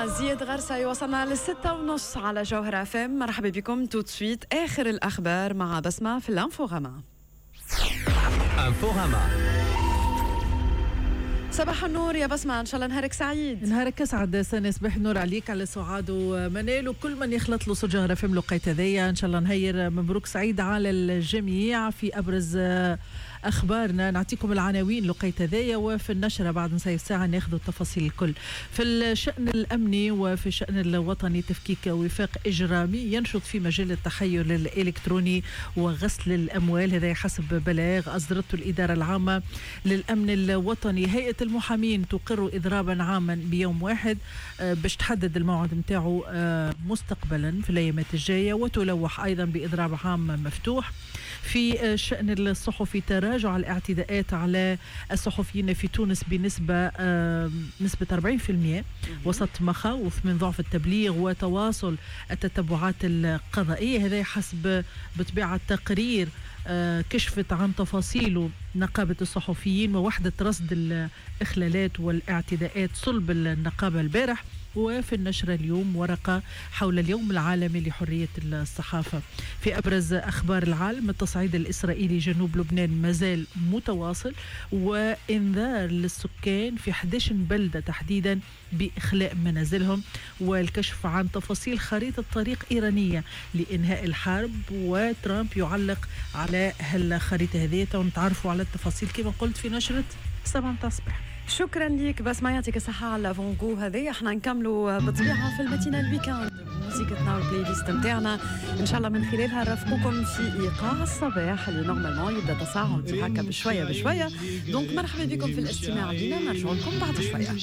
مع زياد غرسة. وصلنا ل6:30 على جوهرة اف ام. مرحبا بكم tout de suite، آخر الأخبار مع بسمة في الانفوغاما. انفوغاما. صباح النور يا بسمة، إن شاء الله نهارك سعيد. نهارك اسعد سنة، صباح النور عليك، على سعاد ومنال وكل من يخلط له صوت جوهرة اف ام الوقيت هذايا. ان شاء الله نهير مبروك سعيد على الجميع. في ابرز اخبارنا نعطيكم العناوين لقيت هذايا، وفي النشرة بعد نص ساعة ناخذ التفاصيل الكل. في الشان الامني وفي الشان الوطني، تفكيك وفاق اجرامي ينشط في مجال التحيل الالكتروني وغسل الاموال، هذا حسب بلاغ اصدرته الادارة العامة للامن الوطني. هيئة المحامين تقر اضرابا عاما بيوم واحد باش تحدد الموعد نتاعو مستقبلا في الايامات الجايه، وتلوح ايضا باضراب عام مفتوح. في الشان الصحفي، تراجع الاعتداءات على الصحفيين في تونس بنسبة نسبة 40% وسط مخاوف من ضعف التبليغ وتواصل التتبعات القضائية، هذا حسب بطبيعة تقرير كشفت عن تفاصيله نقابة الصحفيين ووحدة رصد الإخلالات والاعتداءات صلب النقابة البارح. وفي النشرة اليوم ورقة حول اليوم العالمي لحرية الصحافة. في أبرز أخبار العالم، التصعيد الإسرائيلي جنوب لبنان مازال متواصل، وإنذار للسكان في 11 بلدة تحديدا بإخلاء منازلهم، والكشف عن تفاصيل خريطة طريق إيرانية لإنهاء الحرب، وترامب يعلق على هالخريطة هذه. ونتعرفوا على التفاصيل كما قلت في نشرة 7 متاع الصباح. شكرا لك بسمة، يعطيك الصحة على l'avant-goût هذه. احنا نكملوا بالطبيعة في ال matinale week-end موسيقتنا وال playlist نتاعنا، ان شاء الله من خلالها نرافقكم في ايقاع الصباح اللي normalement يبدا تصاعد هكا بشوية بشويه. donc مرحبا بكم في الاستماع لنا، نرجع لكم بعد شويه.